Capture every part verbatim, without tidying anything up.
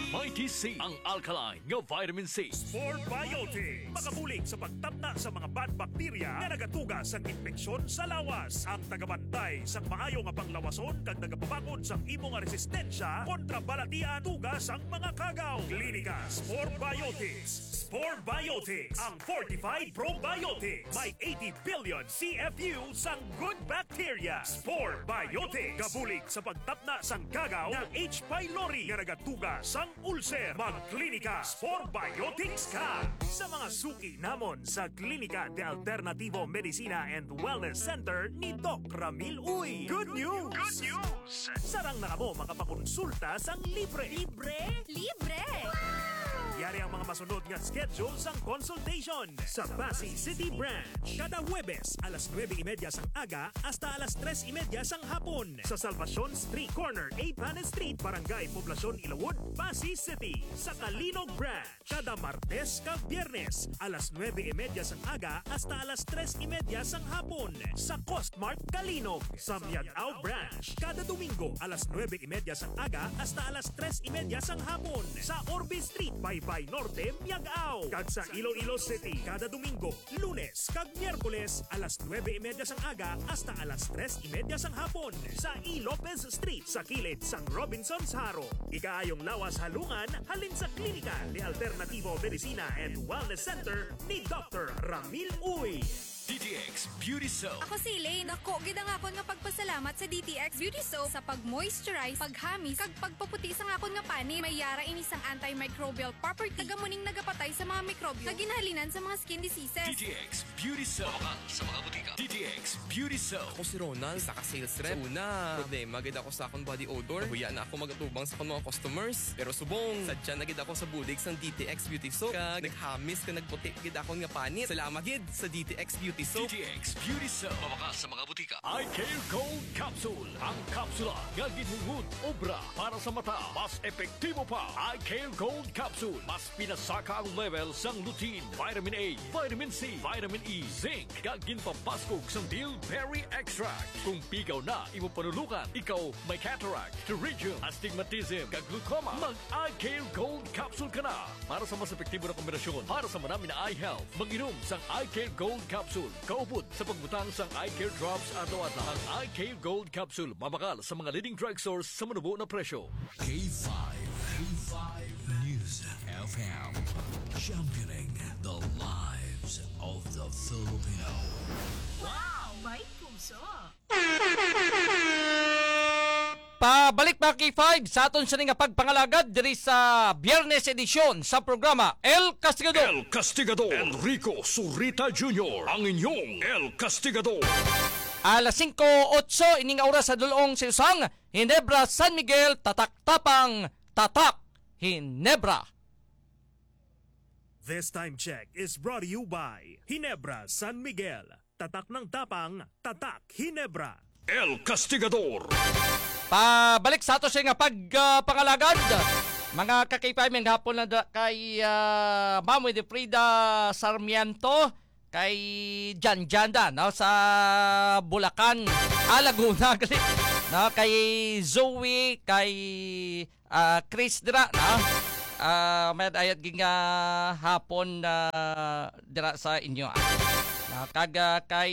Mighty C, ang alkaline nga vitamin C. Spore Biotics, makabulig sa pagtapna sa mga bad bacteria nga nagatuga sang impeksyon sa lawas. Ang tagabantay sang maayo nga panglawason kag nagapabakod sang imo nga resistensya kontra balatian tuga sang mga kagaw. Klinika Spore Biotics. Spore Biotics, ang fortified probiotics. May eighty billion C F U sang good bacteria. Spore Biotics, kabulig sa pagtapna sang kagaw nga H. pylori nga nagatuga sang ulcer. Magklinika Spore Biotics ka sa mga suki namon sa Klinika de Alternativo Medicina and Wellness Center ni Doc Ramil Uy. Good news! Good news! Sarang na kamo makapakonsulta sang libre. Libre? Libre! Yari ang mga masunod nga schedule sang consultation sa Passi City Branch. Kada Huwebes, alas nuebe y media sang aga hasta alas tres y media sang hapon. Sa Salvacion Street, corner eight Panes Street, Barangay Poblacion, Ilawod, Passi City. Sa Calinog Branch, kada Martes kag Biyernes, alas nuebe y media sang aga hasta alas tres y media sang hapon. Sa Costmart Calinog, sa Miag-ao Branch, kada Domingo, alas nuebe y media sang aga hasta alas tres y media sang hapon. Sa Orbe Street, Baybay Norte, Miag-ao. Kag sa Iloilo City, kada Domingo, Lunes kag Miyerkules, alas nuebe y media sang aga hasta alas tres y media sang hapon, sa E. Lopez Street, sa kilid sang Robinsons Jaro. Ikaayong lawas halungan halin sa Klinika de Alternativo Medicina and Wellness Center ni Doctor Ramil Uy. D T X Beauty Soap. Ako si Elaine. Dako gid ang akon nga pagpasalamat sa D T X Beauty Soap sa pag-moisturize, paghamis, kag pagpaputi sang akon nga panit. May yara ini sang antimicrobial property, kag amo ning nagapatay sa mga mikrobyo nga ginhalinan sa mga skin diseases. D T X Beauty Soap. Mabakal sa mga butika. D T X Beauty Soap. Ako si Ronald, isa ka sales rep. Sa una, problema gid ako sa akong body odor. Nahuya na ako magatubang sa akong mga customers. Pero subong, sadya na gid ako sa bulig sang D T X Beauty Soap. Kag naghamis kag nagputi gid akon nga panit. Salamat gid sa D T X Beauty Soap. D T X Beauty Soap. Mabakal sa mga butika. Eye Care Gold Capsule. Ang kapsula nga ginhungod obra para sa mata. Mas epektibo pa. Eye Care Gold Capsule. Mas pinasaka ang level sang lutein, vitamin A, vitamin C, vitamin E, zinc, kag ginpabaskog sang bilberry extract. Kung pigaw na imo panulukan, ikaw may cataract, pterygium, astigmatism, kag glaucoma, mag-Eye Care Gold Capsule ka na. Para sa mas epektibo na kombinasyon para sa manami na eye health, mag-inom sang Eye Care Gold Capsule kaupod sa pagbutang sang Eye Care Drops adlaw-adlaw. Ang Eye Care Gold Capsule mabakal sa mga leading drugstores sa manubo na presyo. K five, K five News F M, championing the lives of the Filipino. Wow, may puso! Pabalik, mga K five, sa aton sini nga pagpangalagad diri sa Biyernes edisyon sa programa El Castigador. El Castigador. Enrico Zurita Junior, ang inyong El Castigador. Alas singko otso ining oras sa dulong sa usang Ginebra San Miguel, tatak tapang, tatak Ginebra. This time check is brought to you by Ginebra San Miguel. Tatak ng tapang, tatak Ginebra. El Castigador. Pabalik sa ato siya nga pag, ah, pangalagad. Mga ka-K five, may hapon na da, kay, ah, Ma'am Winifrida Sarmiento, kay Jan Jan da, no, sa Bulacan, ah, Laguna, gali, no, kay Zoe, kay ah, Chris dira, no? Ah, may ayat ging, ah, hapon, ah, dira sa inyo, ah. Ah, kag, ah, kay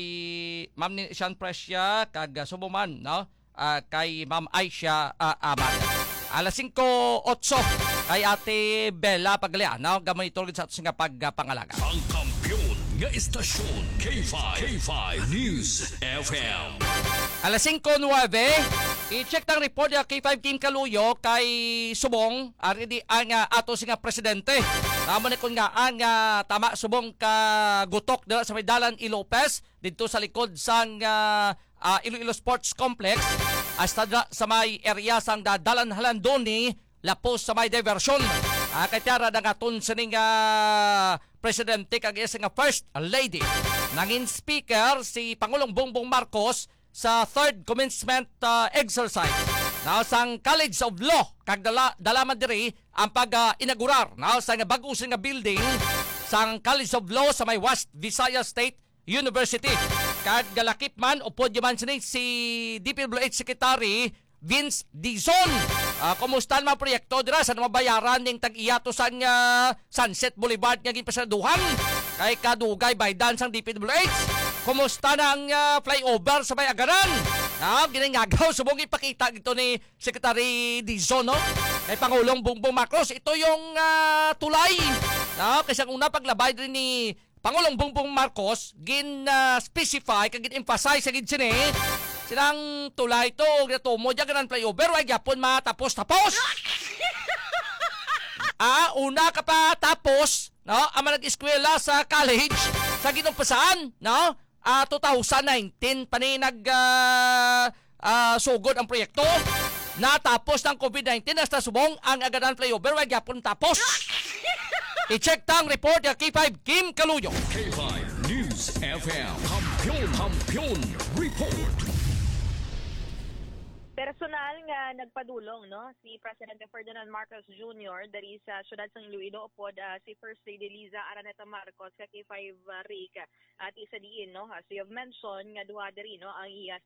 Ma'am ni Sean Presia, kag, ah, subo man, no? Ah, kay Ma'am Aisha, ah, Amad. Alas singko otso, kay Ate Bella Paglia, no? Gamay tulog sa ato nga pag, ah, pangalaga. Ang kampiyon nga istasyon, K five, K five News F M. Alas singko nuwebe, i-check tang report ya K five Kim Kaluyo kay subong, ari di ang, ah, ato si nga presidente. Tama ni kun nga ang, ah, tama subong ka gutok dira sa may Dalan E. Lopez, didto sa likod sang, ah, ah, Iloilo Sports Complex, hasta dira sa may area sang da-, Dalan Halandoni, lapos sa may diversion. Ah, kay tiara na nga aton sining, ah, presidente kag iya nga First Lady. Nangin speaker si Pangulong Bongbong Marcos sa third commencement, ah, exercise na sang College of Law, kag dala, dala man diri ang pag, ah, inaugurar na sa nga bag-o sini nga building sang College of Law sa may West Visayas State University. Kag galakip man, upod man sini si D P W H Secretary Vince Dizon. Ah, kumusta ang mga proyekto dira? Sa mabayaran ning tag-iya to sang, ah, Sunset Boulevard nga ginpasaraduhan? Kay kadugay baydan sang D P W H. Kumusta na ang, ah, flyover sa may Agaran? Ah, ginangagaw subong ipakita dito ni Secretary Dizon, no? Kay Pangulong Bongbong Marcos, ito yung, ah, tulay. No? Kay sa una paglabay din ni Pangulong Bongbong Marcos, gin, ah, specify kag gin-emphasize sa gid sini, silang tulay to, ug natumo dyan, ganang flyover, way gyapon matapos-tapos. Ah, una ka pa tapos, no? Ang mga nag-eskwela sa college, sa ginumpasan, no? Ah, two thousand nineteen pa ni nag, ah, ah, sugod ang proyekto. Natapos ng covid nineteen, hasta subong ang Agadan Flyover, way gyapon tapos. I-check ta ang report ya K five Kim Kaluyo. K five News F M. Kampiyon, Kampiyon Report. Personal nga nagpadulong, no, si Presidente Ferdinand Marcos Junior diri sa siyudad sang Iloilo upod, ah, si First Lady Liza Araneta Marcos ka K five, ah, Rick, at isa diin, no, as you have mentioned, nga duha diri, no, ang iya.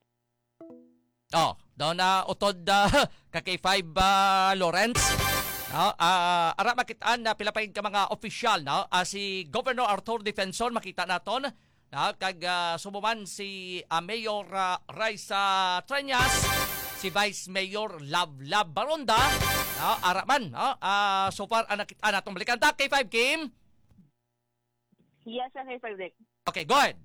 Oh, daw na utod, ah, ka K five, ah, Lawrence. No? Ah, ara makitaan na pila pa gid ka mga opisyal, no? Ah, si Governor Arthur Defensor, makita naton, no? Kag, ah, subo man si, ah, Mayor, ah, Raisa Treñas, si Vice Mayor Love Love Baronda, no? Ara man, no? Ah, so far ang nakita naton. Balikan ta, K five Kim. Yes, ang K five Rick. Okay, go ahead.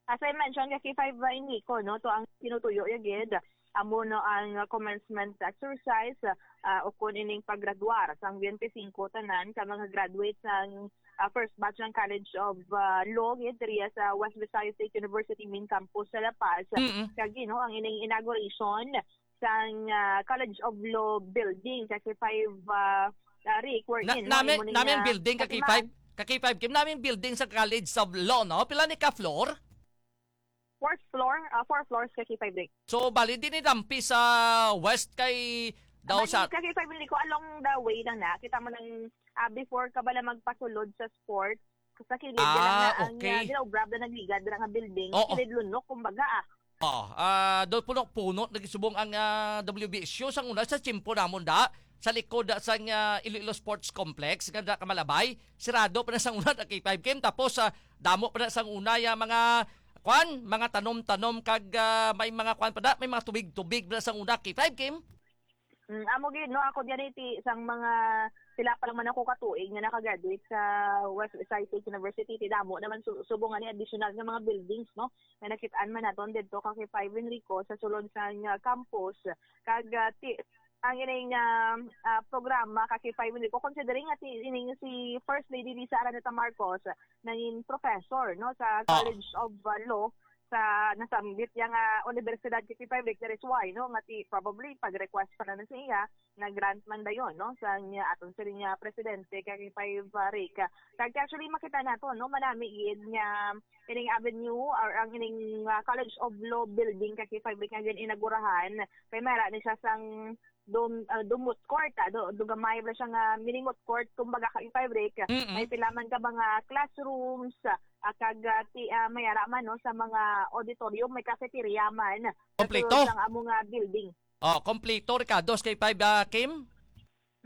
As I mentioned, ka K five, uh, Enrico, no, to ang tinutuyo ya gid, amo, no, ang, uh, commencement exercise, uh, uh, ukon ining paggraduar sang twenty-five tanan ka mga graduates sang, uh, first batch ng College of, uh, Law gid diri sa West Visayas State University main campus sa La Paz. Mm-mm. Kag, you know, ang ining inauguration sang, ah, College of Law building, ka K five, ah, ah, Rick, wherein, Na, no, nami, imo ning, nami ang ah, building ka katima- K five, ka K five Kim, nami ang building sa College of Law, no? Pila ni ka floor? Fourth floor, ah, four floors ka K five, Rick. So, bali din ni dampi sa west kay daw Bali, sa ka K five, hindi ko, along the way lang na. Kita mo nang, ah, before ka bala magpasulod sa sports, sa kilid Ah, lang na ang, okay. ah, ginaobrab na nagligad lang nga building, Oo. Kilid Lunok, kumbaga, ah. Oh, ah, do puno-puno nagisubong ang, ah, W B S U sang una sa tiyempo namon da sa likod da sang, ah, Iloilo Sports Complex nga da ka Malabay. Sirado pa na sang una na K five Kim, tapos, ah, damo pa na sang una ya mga kwan, mga tanom-tanom kag, ah, may mga kwan pa da, may mga tubig-tubig pa na sang una K five Kim. Mm, amo gid, no, ako diyan iti sang mga pila pa lang man ako katuig nga nakagraduate sa West Visayas State University, ti damo naman su- subong nga ni additional nga mga buildings, no, nga nakitaan man naton didto ka K five Enrico sa sulod sa nga campus. Kag, ah, ti ang ining, ah, ah, programa ka K five Enrico, considering nga ti ining si First Lady Liza Araneta Marcos nangin professor, no, sa Ah. College of, ah, Law sa nasambit niya nga universidad, K five Rick, that is why, no, nga ti probably pag-request pa na, na sa iya nga grant man dayon, no, sa niya aton sila niya presidente ka K five, ah, Rick. Kag actually makita nato, no, manami gid nga ining avenue or ang ining, ah, College of Law building ka K five Rick nga gin-inagurahan kay mara ni siya sang dum, ah, dumot court, ah, do, dugamay ba siya nga mini moot court, kumbaga ka K five Rick. Mm-mm. May pila man ka mga classrooms, ah, kag, ah, ti, ah, may ara man, no, sa mga auditorium, may cafeteria man. Kompleto. Sa sulod sang amo nga building. Oh, kompleto, Ricardo, sa K five, ah, Kim?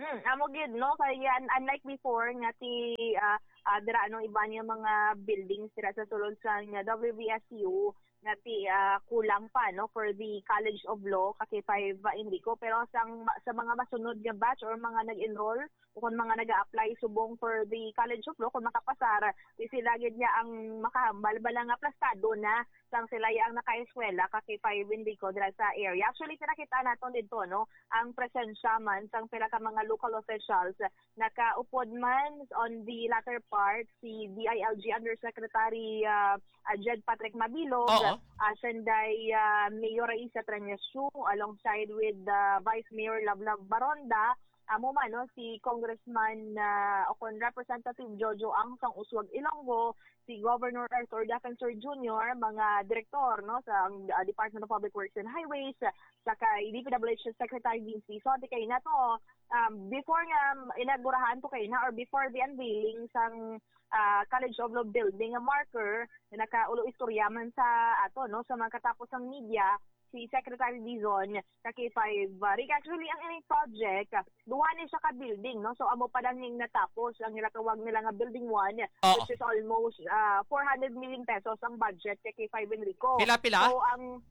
Hmm, amo gid, no, kay un- unlike before nga ti, ah, ah, dira, ano, iba niya mga buildings dira sa sulod sa nga W V S U nga ti, ah, kulang pa, no, for the College of Law ka K five, ah, Enrico, pero sang sa mga masunod nga batch or mga nag-enroll o kung mga nag-a-apply subong for the College of Law, kung makapasar, di sila gid niya ang makahambal bala nga aplastado na sang sila ang nakaeskwela ka K five Enrico dira sa area. Actually, nakita naton dito, no, ang presensya man sang pila ka mga local officials nakaupod man on the latter part si D I L G Undersecretary, ah, ah, Jed Patrick Mabilog, Oo. ah, Senday, ah, Mayor Raisa Treñas Chu, alongside with, ah, Vice Mayor Lovelove Baronda, amo man, no, si Congressman, ah, o kon Representative Jojo Ang sang Usuag Ilonggo, si Governor Arthur Defensor Junior, mga direktor, no, sa, ah, Department of Public Works and Highways, sa kay D P W H Secretary Vince Dizon, ti kay na to, um, before nga inagurahan to kay na or before the unveiling sang, ah, College of Law building nga marker nga nakaulo istorya man sa ato, no, sa mga katapos sang media, si Secretary Dizon, sa K five, uh, Rick. Actually, ang ining project, uh, duha ni siya ka building, no? So, amo pa lang ning natapos ang ginatawag nila nga building one, Oo. which is almost uh, four hundred million pesos ang budget kay K five Enrico. Pila, pila? So, ang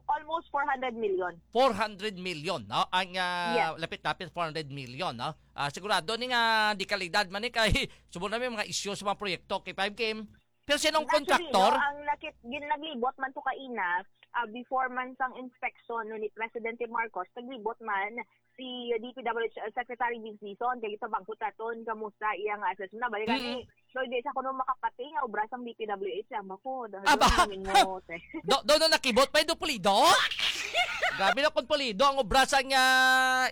almost four hundred million. Four hundred million, no? Ang ah, Yes. lapit-lapit four hundred million, no? Ah, sigurado ni nga di kalidad man ni kay subong na may mga isyu sa mga proyekto kay five Kim. Pero sinong Actually, kontraktor? No, ang nakit, gin, naglibot man to kaina, ah, before man sang inspection no, ni Presidente Marcos, naglibot man si D P W H Secretary Vince Dizon, kay ito bangkot naton, kamusta iyang assessment. Balik Mm. ni, so, di sa kuno makapati nga obra sang D P W H, ang mako. Aba! Do, do, no, nakibot pa yung pulido? Grabe na kung pulido ang obra sa nga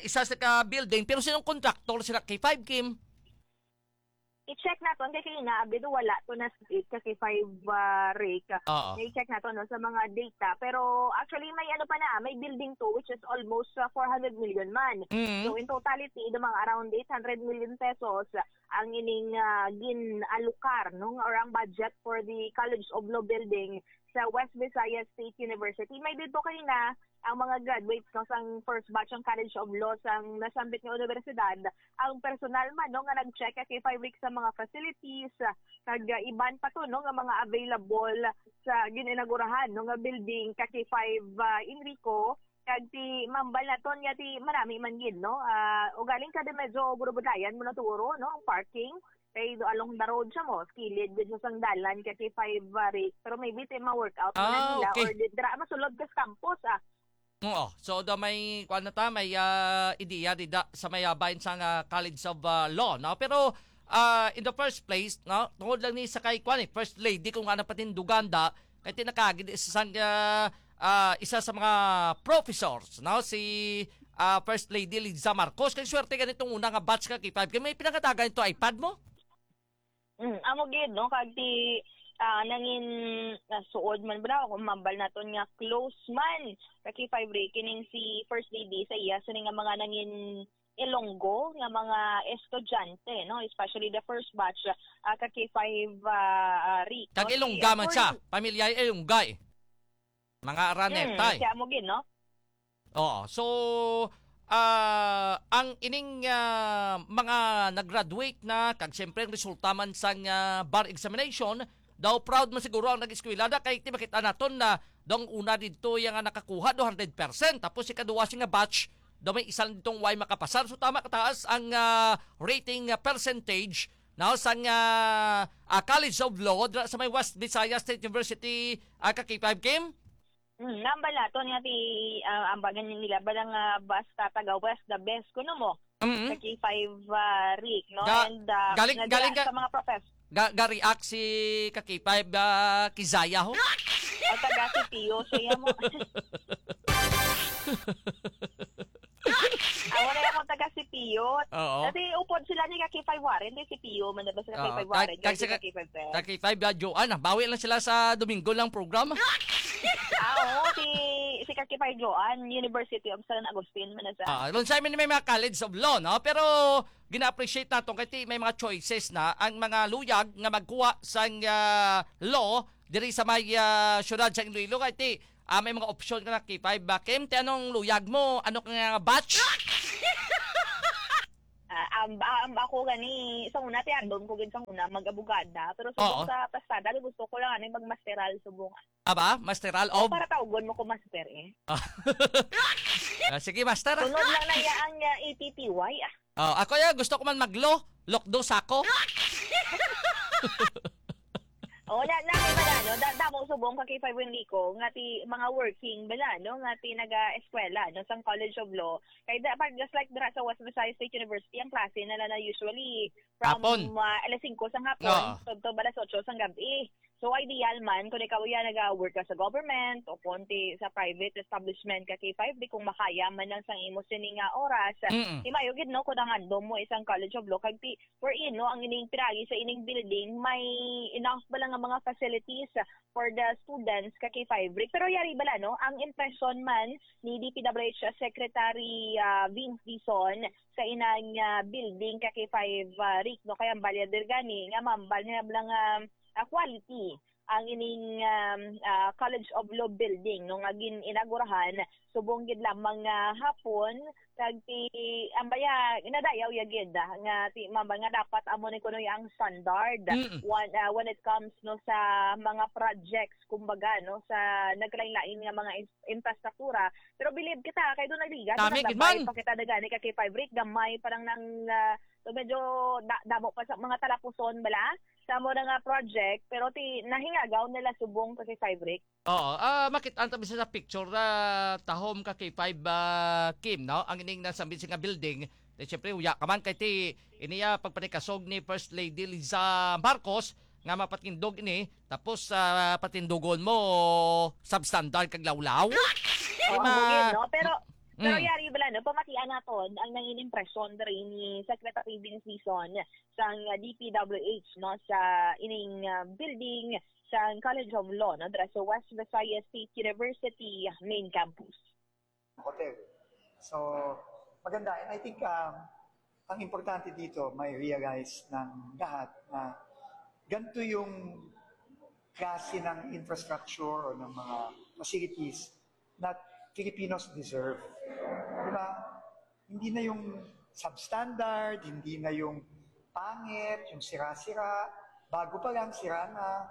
isa sa ka building, pero sinong kontraktor sila kay five Kim? I-check naton kay kay nga abid wala to na sa ka kay five uh, rake. Oo. I-check naton no sa mga data, pero actually may ano pa na, may building to which is almost uh, four hundred million man. Mm. So in totality, the mga around eight hundred million pesos uh, ang ining uh, gin-alokar no or ang budget for the College of Law building sa West Visayas State University. May dito kanina ang mga graduates no sang first batch ng College of Law sang nasambit nga universidad, ang personal man no nga nag-check kay five weeks sa mga facilities, kag uh, iban pa to no nga mga available sa gin-inaugurahan no nga building ka kay five uh, Enrico, kag ti mambal naton nga ti marami man gid no. Ah, ugaling ka di medyo gurubudlayan mo na turo no ang parking kay do along the road siya mo, kilid gid sa sang dalan ka kay five uh, rake, pero maybe ti ma-workout mo na Ah, nila okay. Or di, dira masulod ka sa campus ah. Oo. So, do may, kuan na ta, may ah, ideya dida sa may ah, bahin sang ah, College of ah, Law, no? Pero ah, in the first place, no, tungod lang ni sa kay kuan eh, First Lady kung ano patindugan da, kay tinakagid isa sang ah, ah, isa sa mga professors, no, si ah, First Lady Liza Marcos. Kay swerte ganitong una nga batch ka kay five. Kay may pinangatagan ito iPad mo? Mm, amo gid no kag ti ah, nangin nasuod man ba kung mambal naton nga close man ka kay five Ray kining si First Lady sa iya sini nga mga nangin Ilonggo nga mga estudyante no, especially the first batch ah, ka kay five ah, ah, Ray. Kag No? Ilongga Si, man ah, siya. Corny- Pamilya Ilongga eh. Mga Araneta Mm, eh. Siya mo gid no? Oo. So, ah, ang ining ah, mga nag-graduate na, kag siyempre ang resulta man sang ah, bar examination, daw proud man siguro ang nag-eskwela na kay ti makita naton na daw ang una didto iya nga nakakuha daw hundred percent, tapos ikaduwa siya nga batch daw may isa lang didto way makapasar. So tama kataas ang ah, rating ah, percentage now sang ah, ah, College of Law dira sa may West Visayas State University, ah, ka K five Kim? Hmm, nambal naton nga ti ah, ambagan nila bala nga basta taga West the best kuno mo Mm. sa K five ah, Rick no Ga- and ah, galing- nadala galing ka- sa mga professor. Ga ga-react si ka K five ah, Kizaya ho? O taga C P U siya mo. Ako na yung taga C P U. Oo. Kasi upod sila ni ka K five Warren, di C P U man ba sila Oo, K five kag- Warren, kag kag sila- K five Warren. Ka K five ah, Joanne, ah, bawi lang sila sa Domingo lang program. Ah, oo, si si ka K five Joanne, University of San Agustin man sa. Ah, ron sa amin may mga College of Law, no? Pero gina-appreciate nato kay ti may mga choices na ang mga luyag nga magkuha sang ah, law diri sa may ah, syudad sa Iloilo kay ti ah, may mga opsyon ka na K five ba? Kim, ti anong luyag mo? Ano ka nga batch? Ah, am, am, ako gani sa una ti andon ko gid sa una mag-abogada, pero Oo. subong sa pasada gusto ko lang ani magmasteral subong. Aba, masteral of Para tawgon mo ko master eh. Ah, sige, master. Ah. Sunod lang na iya ang uh, A P P Y ah. Oh, ako ya gusto ko man maglo, lokdo sako. Oh, na na may bala, no? Da, damo subong ka kay Five Enrico nga ti mga working bala, no? Nga ti naga-eskwela, no, sang College of Law. Kay da, pag just like dira sa West Visayas State University, ang klase na na usually from Hapon. Uh, alas singko sang hapon, Oo. to, to alas otso sang gabi. So ideal man kung ikaw ya naga-work ka sa government o kung ti sa private establishment ka kay five di kung makaya man lang sang imo sini nga oras. Mm. Di mayo gid no kung ang andom mo isang College of Law kag ti wherein no ang ining piragi sa ining building may enough ba lang nga mga facilities for the students ka kay five Rick. Pero yari bala no ang impression man ni D P W H Secretary ah, Vince Dizon sa inang ah, building ka kay five ah, Rick no kay ang balya der gani nga mambal nga bala nga ah, quality ang ining, um, ah, College of Law building, no, nga gin-inaugurahan subong gid lamang nga hapon, kag ti, ang baya, nadayaw ya gid, ah, nga ti, mamba nga dapat amo ni kuno ang standard Mm. when, ah, when it comes, no, sa mga projects, kumbaga, no, sa nagkalain-lain nga mga ins-, infrastruktura. Pero believe kita, kay doon nagliga, Tama, doon gid nagbay man. pa kita na gani ka K five Rick, gamay pa lang nang, ah, so medyo da-, damo pa sa mga talapuson bala sa mo na nga project, pero ti nahingagaw nila subong ka K five Rick. Oo, ah, makit-an ta bisan sa picture, ah, tahom ka K five, ah, Kim, no? Ang ining nasa nga building, ti, siyempre, uya ka man kay ti, ini, ah, pagpanikasog ni First Lady Liza Marcos nga mapatindog ini, tapos, ah, patindugon mo substandard kag lawlaw. Di Oo, ba? Mugin, no? Pero, pero Mm. yari bala, no? Pamatian naton ang nangin impresyon diri ni Secretary Vince Dizon sang D P W H, no? Sa ining, ah, building sang College of Law, no? Dira sa West Visayas State University main campus. Hotel. So, maganda. And I think, um, ang importante dito, may realize ng lahat na ganito yung klase ng infrastructure o ng mga facilities na Filipinos deserve. Di ba? Hindi na yung substandard, hindi na yung pangit, yung sira-sira, bago pa lang, sira na.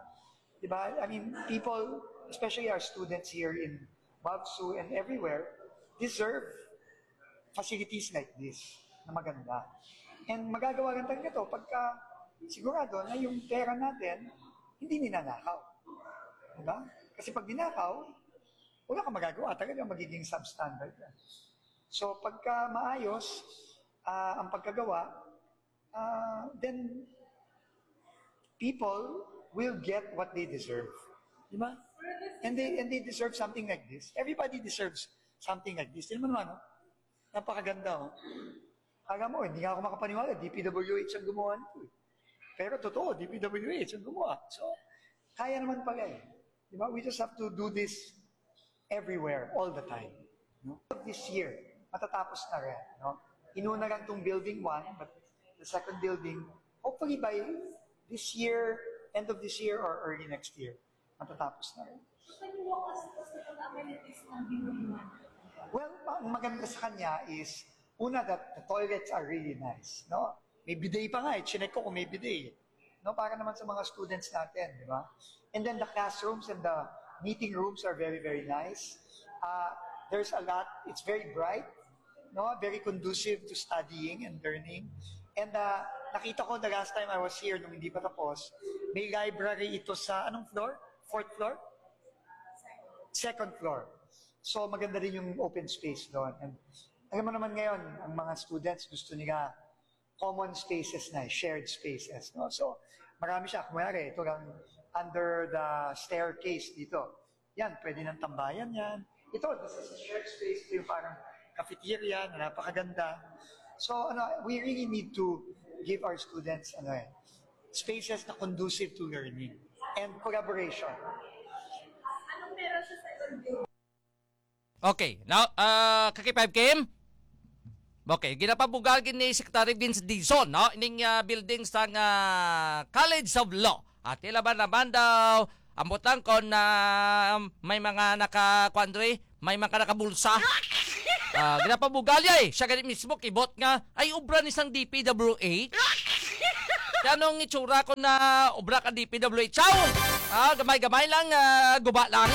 Di ba? I mean, people, especially our students here in BAVSU and everywhere, deserve facilities like this na maganda. And magagawa lang talaga to pagka sigurado na yung pera natin hindi ninanakaw. Di ba? Kasi pag ninakaw, wala kang magagawa. Talaga magiging substandard yan. So pagka maayos, ah, ang pagkagawa, ah, then people will get what they deserve. Di ba? And they, and they deserve something like this. Everybody deserves something like this. Tingnan mo naman, no? Napakaganda, oh. Alam mo, hindi nga ako makapaniwala, D P W H ang gumawa nito, eh. Pero totoo, D P W H ang gumawa. So, kaya naman pala, eh. Di ba? We just have to do this everywhere, all the time. No? This year, matatapos na rin. No? Inuna lang tong building one, but the second building, hopefully by this year, end of this year or early next year, matatapos na rin. So, can you walk us through sa mga amenities ng building one? Well, ang maganda sa kanya is, una, that the toilets are really nice. No? May bidet pa nga, eh. Chinek ko kung may bidet, eh. No, para naman sa mga students natin, di ba? And then the classrooms and the meeting rooms are very, very nice. Uh, there's a lot, it's very bright, no? Very conducive to studying and learning. And uh, nakita ko the last time I was here, nung hindi pa tapos, may library ito sa, anong floor? Fourth floor? Second floor. So maganda din yung open space doon. And alam mo naman ngayon, ang mga students gusto nila common spaces na, eh, shared spaces, no? So, marami siya. Kunyari, ito lang under the staircase dito. Yan, pwede ng tambayan yan. Ito, this is a shared space. Ito yung parang cafeteria na napakaganda. So, ano, we really need to give our students, ano eh, spaces na conducive to learning and collaboration. Anong meron sa second building? Okay. Now, ah, ka K five Kim? Okay, ginapabugal gid ni Secretary Vince Dizon, no? Ining ah, building sang ah, College of Law. At ila ba naman daw, ambot lang kon ah, may mga naka, kuwan diri, may mga nakabulsa. Ah, ginapabugal ya eh. Siya gani mismo kibot nga ay obra ni sang D P W H. Kaya anong itsura ko na obra ka D P W H? Chow! Ah, gamay-gamay lang, ah, guba lang.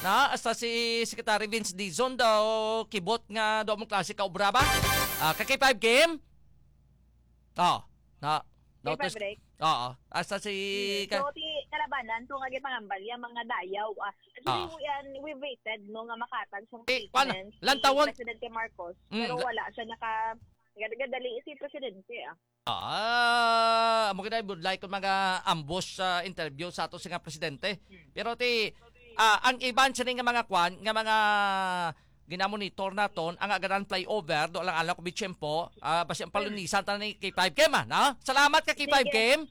Na, hasta si Secretary Vince Dizon daw kibot nga daw mong klase ka obra ba? Ah, ka K five Kim? Oh, na, K five notice. Break. Oo, hasta si... So, ti kalabanan, kung agi pangambal, yung mga dayaw, ah, actually, Ah. we, and we waited, no, nga makatag sa Eh, kuwan, statements lantawon. ni Presidente Marcos, Mm, pero la- wala siya naka, nagdali si Presidente, ah. Ah, amo gid ay budlay kung mga ambush sa interview sa ato sa nga presidente. Pero ti ah, ang iban sini nga mga kwan, nga mga ginamonitor naton ang agaran flyover do lang alam ko bitiyempo, ah, basi ang palunisan ta ni K five Kim ah, no? Salamat ka K five Kim.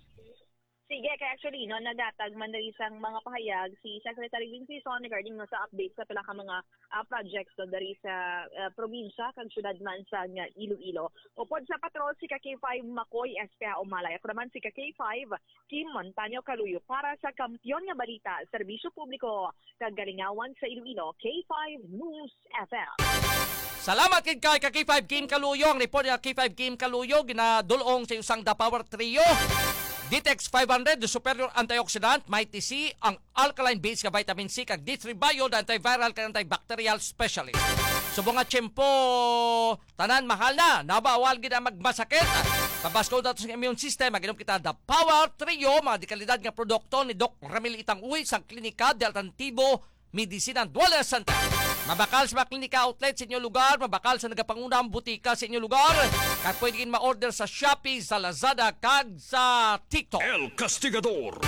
Sige, kay actually, no, nagatag man diri sang mga pahayag si Secretary Vince Sison regarding, no, sa update sa pila ka mga, ah, projects, no, diri sa, ah, probinsya kag syudad man sang Iloilo. Upod sa patrol, si ka K five Makoy Espea Umalay. Ako naman si ka K five Kim Montaño Caluyo para sa Kampiyon nga Balita, Serbisyo Publiko kag Kalingawan sa Iloilo, K five News F M. Salamat kay kay ka K five Kim Caluyo. Ang report ni ka K five Kim Caluyo ginadul-ong sa usang The Power Trio. Ditex five hundred, the superior antioxidant, Mighty C, ang alkaline base nga vitamin C, kag D three Bio, the antiviral kag antibacterial specialist. Subong nga tiyempo, tanan mahal na, nabawal gid ang magmasakit. Pabaskog nato sa immune system, mag-inom kita The Power Trio, mga dekalidad nga produkto ni Doc Ramil Itang Uy sa Klinika de Alternativo Medicine and Wellness Center. Mabakal sa mga klinika outlet sa inyo lugar, mabakal sa nagapangunang butika sa inyo lugar, kag pwede gid ma-order sa Shopee, sa Lazada, kag sa TikTok. El Castigador.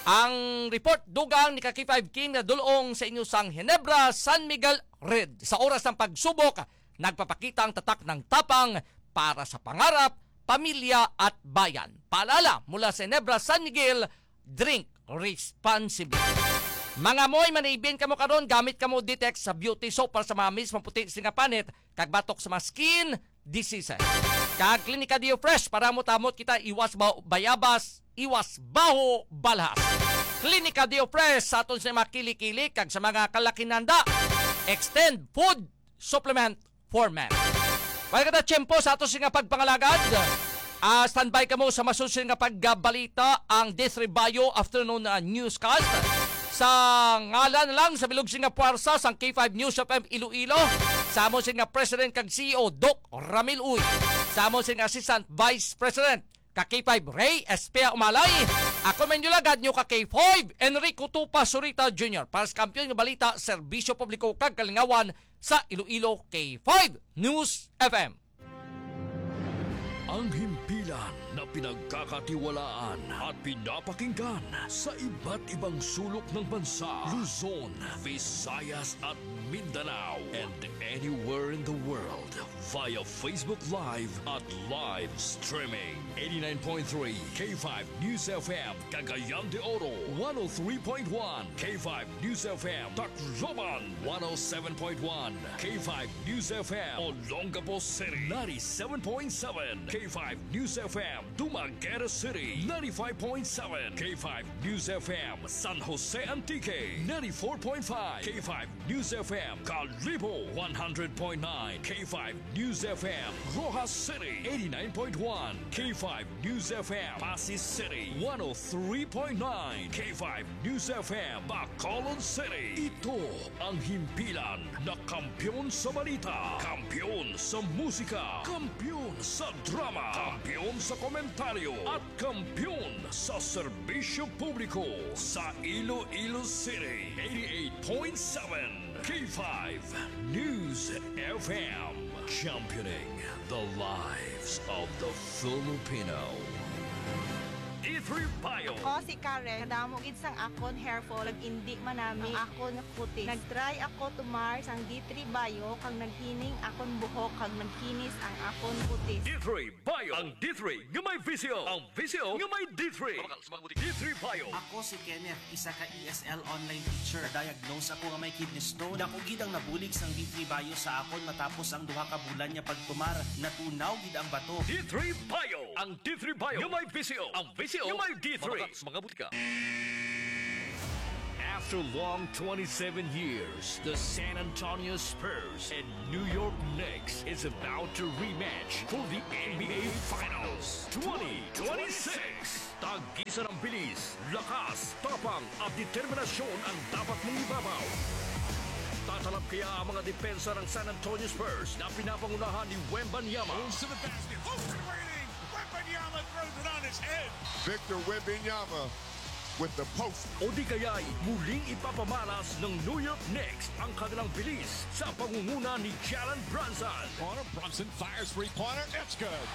Ang report dugang ni ka K five Kim nga dul-ong sa inyo sang Ginebra, San Miguel Red. Sa oras ng pagsubok, nagpapakita ang tatak ng tapang para sa pangarap, pamilya at bayan. Paalala mula sa Ginebra, San Miguel, drink responsibly. Mga moy, manibin kamo karon, gamit kamo Ditex sa beauty soap para sa mga mismo puti sing nga panit kag batok sa mga skin diseases. Kag Klinika Dio Fresh para mo tamot kita, iwas ba bayabas, iwas baho balhas. Klinika Dio Fresh sa aton sa mga kilikili kag sa mga kalakinanda. Extend food supplement for men. Wala ka na tiyempo sa ato sing nga pagpangalagad. Ah, standby kamo sa masusunod nga pagbalita, ang D three Bio Afternoon, ah, Newscast. Sa ngalan lang sa bilog sing nga puwersa sang K five News F M Iloilo, sa amon sing nga President kag C E O, Doc Ramil Uy, sa amon sing Assistant Vice President, ka K five Ray Espea Umalay. Ako man yung lagad nyo ka K five, Enrico Tupa Surita Junior, para sa Kampiyon nga Balita, Serbisyo Publiko kag Kalingawan sa Iloilo, K five News F M. Ang himpilan na pinagkakatiwalaan at pinapakinggan sa iba't ibang sulok ng bansa, Luzon, Visayas at Mindanao, and anywhere in the world via Facebook Live at live streaming. Eighty-nine point three K five News F M, Cagayan de Oro, one oh three point one K five News F M, Tacloban, one oh seven point one K five News F M, Olongapo City, ninety-seven point seven K five News F M, Dumaguete City, ninety-five point seven K five News F M, San Jose Antique, ninety-four point five K five News F M, Kalibo, one hundred point nine K five News F M, Roxas City, eighty-nine point one K five News F M, Passi City, one oh three point nine K five News F M, Bacolod City. Ito ang himpilan na kampiyon sa balita, kampiyon sa musika, kampiyon sa drama, kampiyon sa komentaryo, at kampiyon sa serbisyo publiko sa Iloilo City, eighty-eight point seven K five News F M, championing the lives of the Filipino. D three Bio. Ako si Karen. Kadamo gid sang akon hair fall, nag-indi man nami ang akon nga kutis. Nag-try ako tumar sang D three Bio, kag naghining akon buhok, kag nagkinis ang akon kutis. D three Bio, ang D three nga may V C O. Ang V C O nga may D three. D three Bio. Ako si Kenneth, isa ka E S L online teacher. Na-diagnose ako nga may kidney stone. Dako gid ang nabulig sang D three Bio sa akon matapos ang duha ka bulan nga pagtumar. Natunaw gid ang bato. D three Bio. Ang D three Bio nga may V C O. Ang V C O nga may D three. Mabakal sa mga butika. After long twenty-seven years, the San Antonio Spurs and New York Knicks is about to rematch for the N B A Finals twenty twenty-six. Tag-isa ng bilis, lakas, tapang at determinasyon ang dapat mong ibabaw. Tatalab kaya ang mga depensa ng San Antonio Spurs na pinapangunahan ni Wembanyama? Moves to the basket. Open waiting. Wembanyama throws it on his head. Victor Wembanyama with the post. O di kaya'y muling ipapamalas ng New York Knicks ang kanilang bilis sa pangunguna ni Jalen Brunson? Corner, Brunson fires three-pointer. It's good.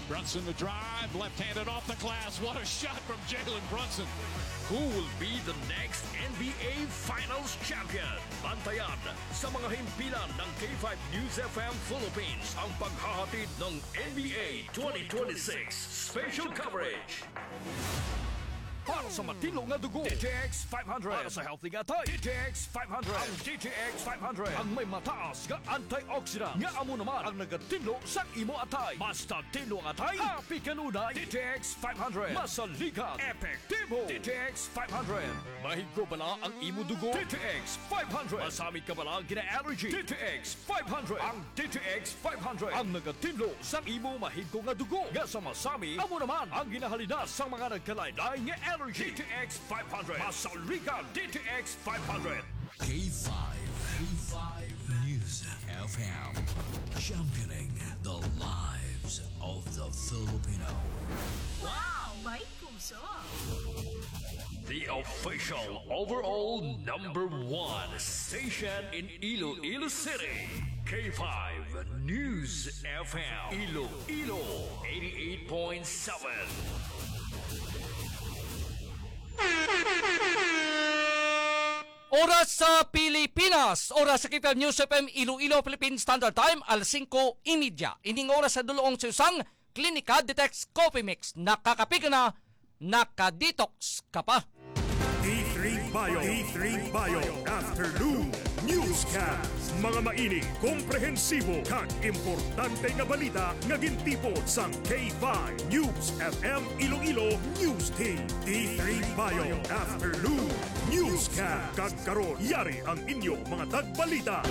Brunson the drive, left-handed off the glass. What a shot from Jalen Brunson. Who will be the next N B A Finals champion? Bantayan sa mga himpilan ng K five News F M Philippines ang paghahatid ng N B A twenty twenty-six special coverage. Para sa matinlo nga dugo, D T X five hundred. Para sa healthy nga atay, D T X five hundred. Ang D T X five hundred ang may mataas nga antioxidant nga amo naman ang nagatinlo sa imo atay. Basta tinlo ang atay, happy kanunay. D T X five hundred. Masaligan, epektibo. D T X five hundred. Mahigko bala ang imo dugo? D T X five hundred. Masami ka bala gina-allergy? D T X five hundred. Ang D T X five hundred ang nagatinlo sa imo mahigko nga dugo nga sa masami, amo naman ang ginahalina sa mga nagkalain-lain nga allergy. D T X five hundred. Masaligan, D T X five hundred. K five, K five News F M, championing the lives of the Filipino. Wow! May puso! The official overall number one station in Iloilo City, K five News F M, Iloilo eighty-eight point seven. Oras sa Pilipinas, oras sa K five News F M Iloilo, Philippine Standard Time, alas singko y media. Ining oras sa dulong sa usang Klinika Detox Coffee Mix. Nakakape ka na, naka-detox ka pa. D three Bio, D three Bio Afternoon Newscast. Mga mainit, komprehensibo, kag importante nga balita nga gintipon sang K five News F M Iloilo News Team. D three Bio Afternoon Newscast. Kag karon, yari ang inyo mga tagbalita.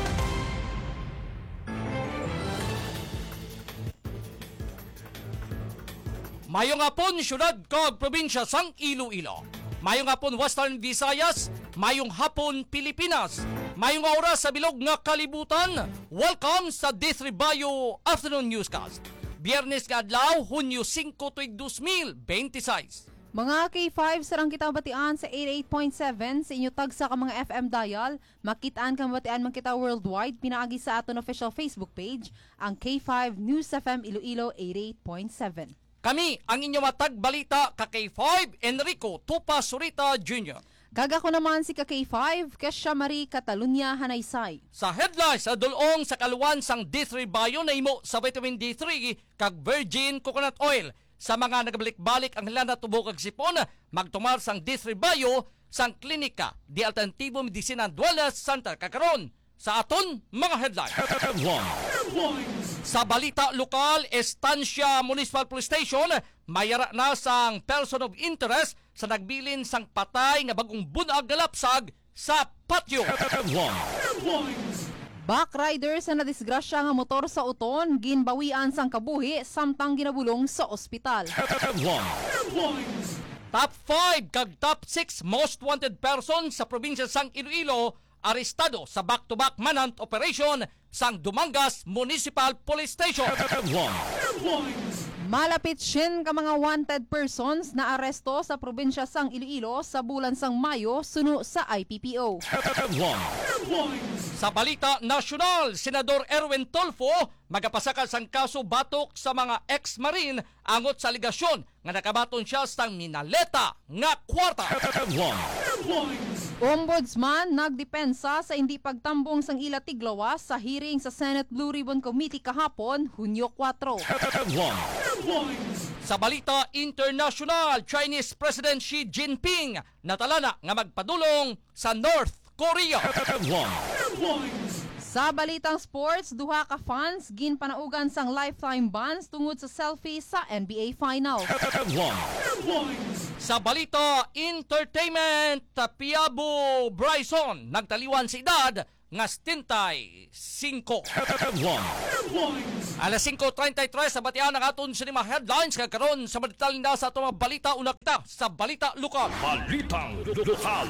Mayong hapon, syudad kag probinsya sang Iloilo. Mayong hapon, Western Visayas. Mayong hapon, Pilipinas. Mayong oras sa bilog nga kalibutan. Welcome sa D three Bio Afternoon Newscast. Biyernes nga adlaw, Hunyo singko, tuig dos mil bente seis. Mga K five, sarang kita batian sa eighty-eight point seven sa inyo tagsa ka mga F M dial. Makit-an kag mabatian man kita worldwide pinaagi sa aton official Facebook page, ang K five News F M Iloilo eighty-eight point seven. Kami ang inyo matag balita ka K five, Enrico Tupa Surita Junior. Kag ako naman si ka K five, Kesha Marie Catalunya Hanaysay. Sa headlines, sa dulong sa kaluan sang D three Bio nahimo sa vitamin D three kag virgin coconut oil. Sa mga nagabalik-balik ang hilana, tubo kag sipon, magtumar sang D three Bio sang Klinika de Alternativo Medicina and Wellness Center. Kag karon, sa aton mga headlines. Headlines. Sa balita lokal, Estancia Municipal Police Station, may ara na sang person of interest sa nagbilin sang patay nga bag-ong bun-ag nga lapsag sa patio. Headlines. Backrider sa nadisgrasya nga motor sa Oton, ginbawian sang kabuhi samtang ginabulong sa ospital. Headlines. Top five kag top six most wanted person sa probinsya sang Iloilo arestado sa back-to-back manhunt operation sang Dumangas Municipal Police Station. Headlines. Malapit siyam ka mga wanted persons naaresto sa probinsya sang Iloilo sa bulan sang Mayo suno sa I P P O. Headlines. Sa balita nasyonal, Senador Erwin Tulfo magapasaka sang kaso batok sa mga ex-Marine angot sa alegasyon nga nakabaton siya sang minaleta nga kwarta. Headlines. Ombudsman nagdepensa sa indi pagtambong sang ila tiglawas sa hearing sa Senate Blue Ribbon Committee kahapon, Hunyo kuwatro. Headlines. Sa balita internasyonal, Chinese President Xi Jinping natalana nga magpadulong sa North Korea. Headlines. Sa balitang sports, duha ka fans ginpanaugan sang lifetime bans tungod sa selfie sa N B A Finals. Headlines. Sa balita entertainment, Piabo Bryson nagtaliwan sa edad nga setenta y cinco. Headlines. Alas singko treinta y tres sa batian ang aton sa mga headlines, nga karon sa mga detalye na sa atong mga balita, una kita sa balita lokal. Balitang lokal.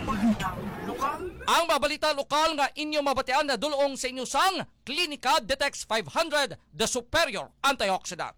Ang mga balita lokal nga inyo mabatian na dulong sa inyo sang Klinika Detox five hundred, the superior antioxidant.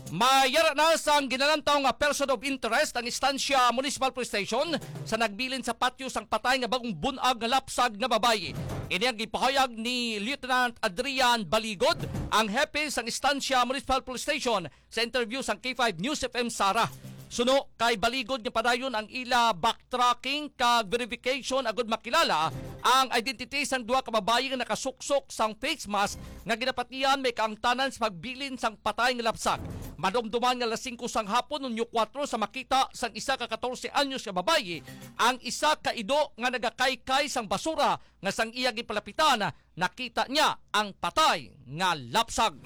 Mayara na sang ginalantaw nga person of interest ang Estancia Municipal Police Station sa nagbilin sa patyo sang patay nga bagong bunag nga lapsag nga babayi. Ini ang gipahayag ni Lieutenant Adrian Baligod, ang hepe sang Estancia Municipal Police Station, sa interview sang K five News F M Sara. Suno kay Baligod nga padayon ang ila backtracking kag verification agud makilala ang identity sang duha ka babayi nga nakasuksok sang face mask nga ginapatihan may kaangtanan sa pagbilin sang patay nga lapsag. Madumduman nga alas singko sang hapon, Hunyo kuwatro, sa makita sang isa ka katorse anyos nga babayi ang isa ka ido nga nagakaykay sang basura nga sang iya ginpalapitan, nakita niya ang patay nga lapsag.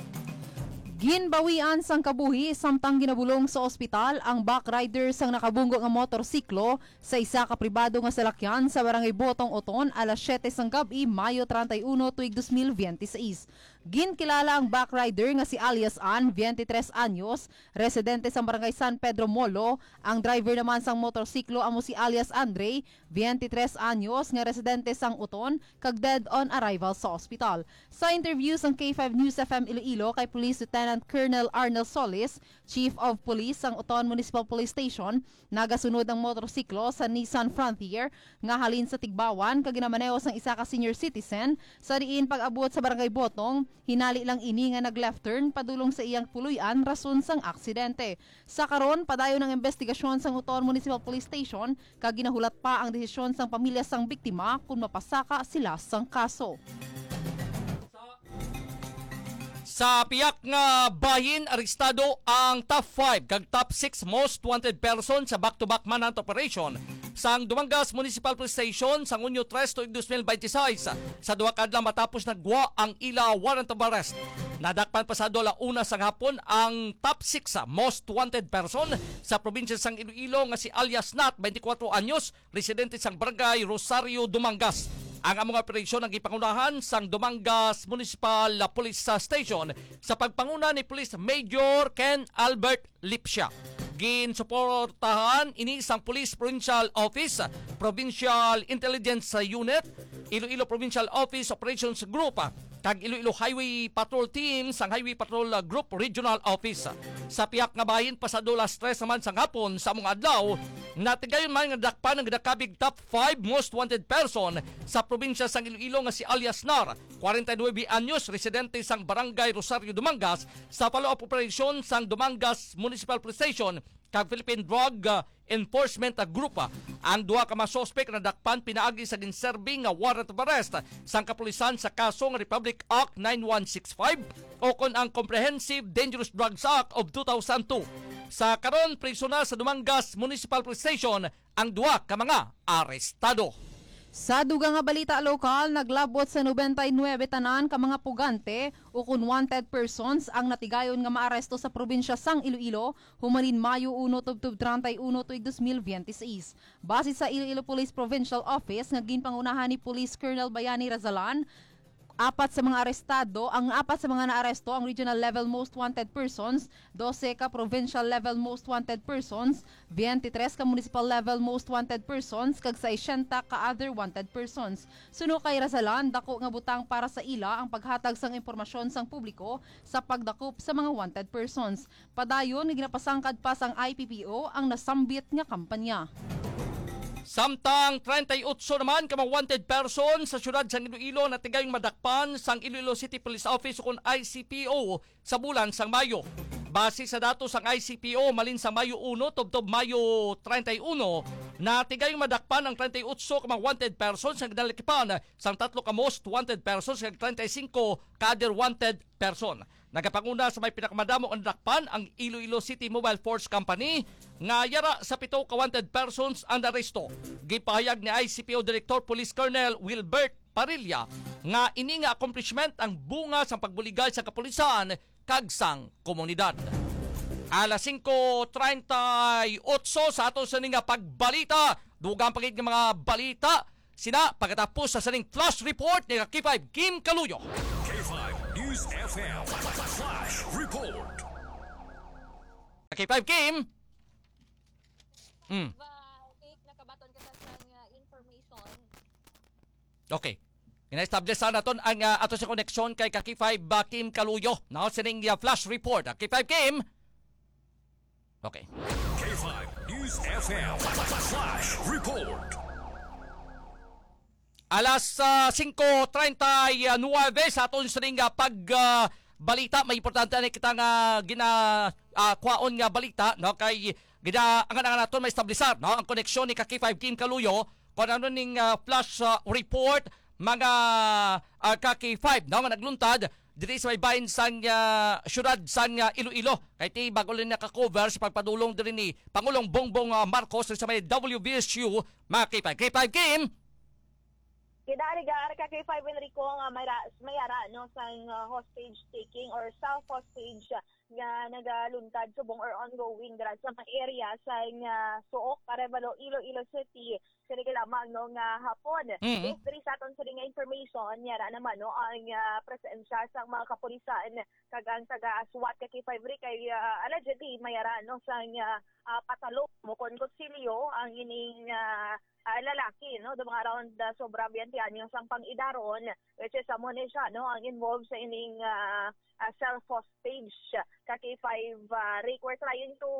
Ginbawian sang kabuhi samtang ginabulong sa ospital ang backrider sang nakabunggo nga motorsiklo sa isa ka pribado nga salakyan sa Barangay Botong, Oton, alas siyete sang gab-i, Mayo treinta y uno, tuig dos mil biyente seis. Ginkilala ang backrider nga si alias Ann, biyente tres anyos, residente sang Barangay San Pedro Molo. Ang driver naman sang motorsiklo amo si alias Andre, biyente tres anyos, nga residente sang Oton, kag dead on arrival sa ospital. Sa interview sang K five News F M Iloilo kay Police Lieutenant Colonel Arnel Solis, Chief of Police sang Oton Municipal Police Station, nagasunod ang motorsiklo sa Nissan Frontier nga halin sa Tigbawan kag ginamaneho sang isa ka senior citizen, sa diin pag-abot sa Barangay Botong, hinali lang ini nga nag-left turn padulong sa iyang puloy-an rason sang aksidente. Sa karon, padayon ang investigasyon sang Oton Municipal Police Station kag ginahulat pa ang desisyon sang pamilya sang biktima kon mapasaka sila sang kaso. Sa pihak nga bahin, arestado ang top five kag top six most wanted person sa back-to-back manhunt operation sang Dumangas Municipal Police Station sang Hunyo tres tuig dos mil binte seis, sa duha ka adlaw matapos nagwa ang ila warrant of arrest. Nadakpan pasado ala una sang hapon ang top six most wanted person sa probinsya sang Iloilo nga si alias Nat, twenty-four anyos, residente sang Barangay Rosario, Dumangas. Ang amo nga operasyon ang gipangunahan sang Dumangas Municipal Police Station sa pagpanguna ni Police Major Ken Albert Lipsia. Ginsuportahan ini sang Police Provincial Office, Provincial Intelligence Unit, Iloilo Provincial Office Operations Group, kag Iloilo Highway Patrol Team sang Highway Patrol Group Regional Office. Sa pihak nga bahin, pasado las tres naman sang hapon sa among adlaw, natigayon man nga dakpan ang ginakabig top five most wanted person sa probinsya sang Iloilo nga si alias Nar, kwarenta y nuebe anyos, residente sang Barangay Rosario, Dumangas, sa follow-up operasyon sang Dumangas Municipal Police Station kag Philippine Drug, uh, Enforcement, uh, Group. Ang duha ka mga suspek nadakpan pinaagi sa ginserbi nga warrant of arrest sang kapulisan sa kaso nga Republic Act nine one six five o kon ang Comprehensive Dangerous Drugs Act of two thousand two. Sa karon, priso na sa Dumangas Municipal Police Station ang duha ka mga arestado. Sa dugang nga balita lokal, naglabot sa nobenta y nuebe tanan ka mga pugante ukon wanted persons ang natigayon nga maaresto sa probinsya sang Iloilo humanin Mayo uno tubtob treinta y uno tuig dos mil biyente seis. Base sa Iloilo Police Provincial Office nga ginpangunahan ni Police Colonel Bayani Razalan, apat sa mga arestado, ang apat sa mga naaresto ang regional level most wanted persons, dose ka provincial level most wanted persons, biyente tres ka municipal level most wanted persons, kag sesenta ka other wanted persons. Suno kay Razalan, dako nga butang para sa ila ang paghatag sang impormasyon sang publiko sa pagdakop sa mga wanted persons. Padayon nga ginapasangkad pa sang I P P O ang nasambit nga kampanya. Samtang treinta y ocho naman ka mga wanted person sa siyudad sang Iloilo natigayong madakpan sang Iloilo City Police Office ukon I C P O sa bulan sang Mayo. Base sa datos sang I C P O, malin sa Mayo uno tubtob Mayo treinta y uno, natigayong madakpan ang treinta y ocho ka mga wanted persons nga ginalakipan sang tatlo ka most wanted persons kag treinta y cinco ka other wanted person. Nagapanguna sa may pinakamadamo nga nadakpan ang Iloilo City Mobile Force Company, nga yara sa pito ka wanted persons ang naaresto. Gipahayag ni I C P O Director Police Colonel Wilbert Parilla nga ini nga accomplishment ang bunga sang pagbuligay sa kapulisan kag sang komunidad. Alas singko treinta y ocho sa ato sa ning pagbalita. Dugang pa gid nga mga balita sina pagkatapos sa sining flash report ni K five Kim Kaluyo. K five News F M Flash Report. K five Kim. Mm. Ba, take nakabaton ka sa sang, uh, information. Okay. Gina-establish sa naton ang, ah, ato sa koneksyon kay ka K five, ah, Kim Kaluyo. Now, sining, ah, flash report. Ah, K five Kim. Okay. K five News F M Flash Report. Alas ah, singko treinta y nuebe sa aton sining ah, pag ah, balita, may importante na kita nga gina ah, kwaon nga balita, no, kay gina ang naton maestablisar, no, ang koneksyon ni ka K five Kim Kaluyo kon ano ning ah, flash ah, report, mga ah, ka K five, no, nga nagluntad diri sa may bahin sang ah, syudad sang ah, Iloilo. Kay ti bago lang naka-cover sa pagpadulong diri ni Pangulong Bongbong ah, Marcos sa may W V S U, mga K five. K five Kim. Kidarigar ka kay Five Enrico nga may ra, may ara no sang ah, hostage taking or self hostage nga nagaluntad subong or ongoing dira sa mga area sa nga Suok, Arevalo, Iloilo City. Sini lamang no nga hapon. Mhm. Based diri sa aton sini nga information, yara naman no ang ah, presensya sang mga kapulisan kag ang taga SWAT ka K five Rick kay ah, allegedly may ara no sang ah, ah, patalo mo kon kutsilyo ang ining ah, ah, lalaki, no? Daw mga around ah, sobra biyente anyos ang pang-idaron, which is amo ni siya, no? Ang involved sa ining ah, ah, self hostage ka K five ah, Rick. We're trying to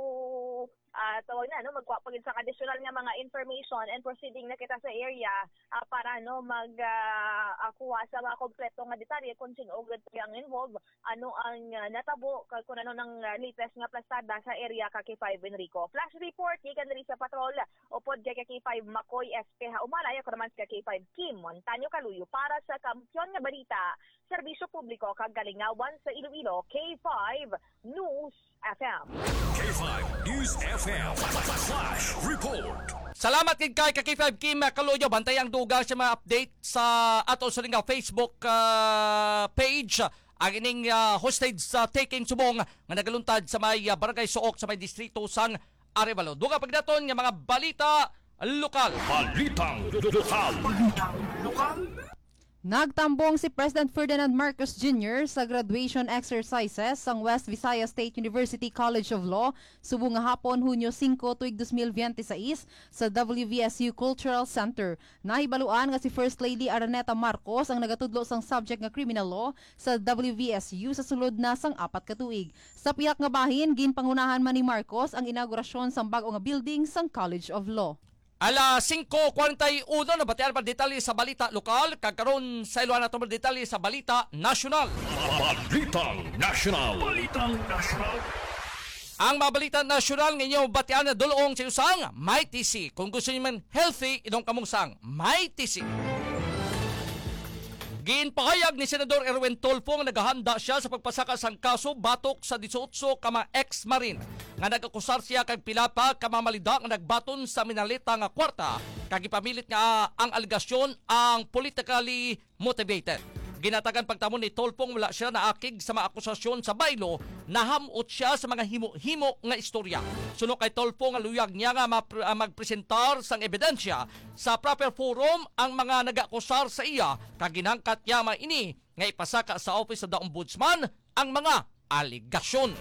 ah, tawag na, no? Magkuha pa gid sa additional nga mga information and proceeding na kita sa area ah, para no mag ah, ah, kuha sa mga kompleto nga detalye kung sino gid ang involved, ano ang ah, natabo, kag kung ano nang ah, latest nga plastada sa area ka K five Enrico. Flash report gikan diri sa patrol upod kay ka K five Makoy S P ha Umalay. Ako naman si ka K five Kim Montaño Kaluyo para sa Kampiyon nga Balita, Serbisyo Publiko kag Kalingawan sa Iloilo, K five News F M. K five News F M Flash Report. Salamat kay kay ka K five Kim Kaluyo. Bantay ang dugang sa mga update sa ato sa nga Facebook ah, page. Ang ining ah, hostage sa taking subong nga nagaluntad sa may ah, barangay Suok sa may distrito sang Arevalo. Dugang pagdaton nga mga balita lokal. Balitang lokal. Nagtambong si President Ferdinand Marcos Junior sa graduation exercises sang West Visayas State University College of Law subong nga hapon, Hunyo singko, tuig dos mil biyente sais, sa W V S U Cultural Center. Nahibaluan nga si First Lady Araneta Marcos ang nagatudlo sang subject nga Criminal Law sa W V S U sa sulod na sang apat ka tuig. Sa pihak nga bahin, ginpangunahan man ni Marcos ang inaugurasyon sang bag-o nga building sang College of Law. Alas singko kwarenta y uno, nabatian pa detalye sa balita lokal, kag karon sa iluhan nato detalye sa balita nasyonal. Balitang Nasyonal. Balitang Nasyonal. Ang mga balita nasyonal nga inyo batian na dulong sa usang Mighty C. Kung gusto niyo man healthy, inom kamo sang Mighty C. Ginpahayag ni Senador Erwin Tulfo nga nagahanda siya sa pagpasaka sang kaso batok sa disiotso ka mga ex-marine nga nag-akusar siya kag pila pa ka mga malida nga nagbaton sa minaleta nga kwarta, kag ipamilit nga ang alegasyon ang politically motivated. Ginatagan pagtamo ni Tulfo nga wala siya naakig sa mga akusasyon sa baylo, nahamot siya sa mga himo-himo nga istorya. Suno kay Tulfo nga luyag niya nga mapre- ah, magpresentar sang ebidensya sa proper forum ang mga nag-akusar sa iya, kag ginangkat niya man ini nga ipasaka sa Office of the Ombudsman ang mga alegasyon.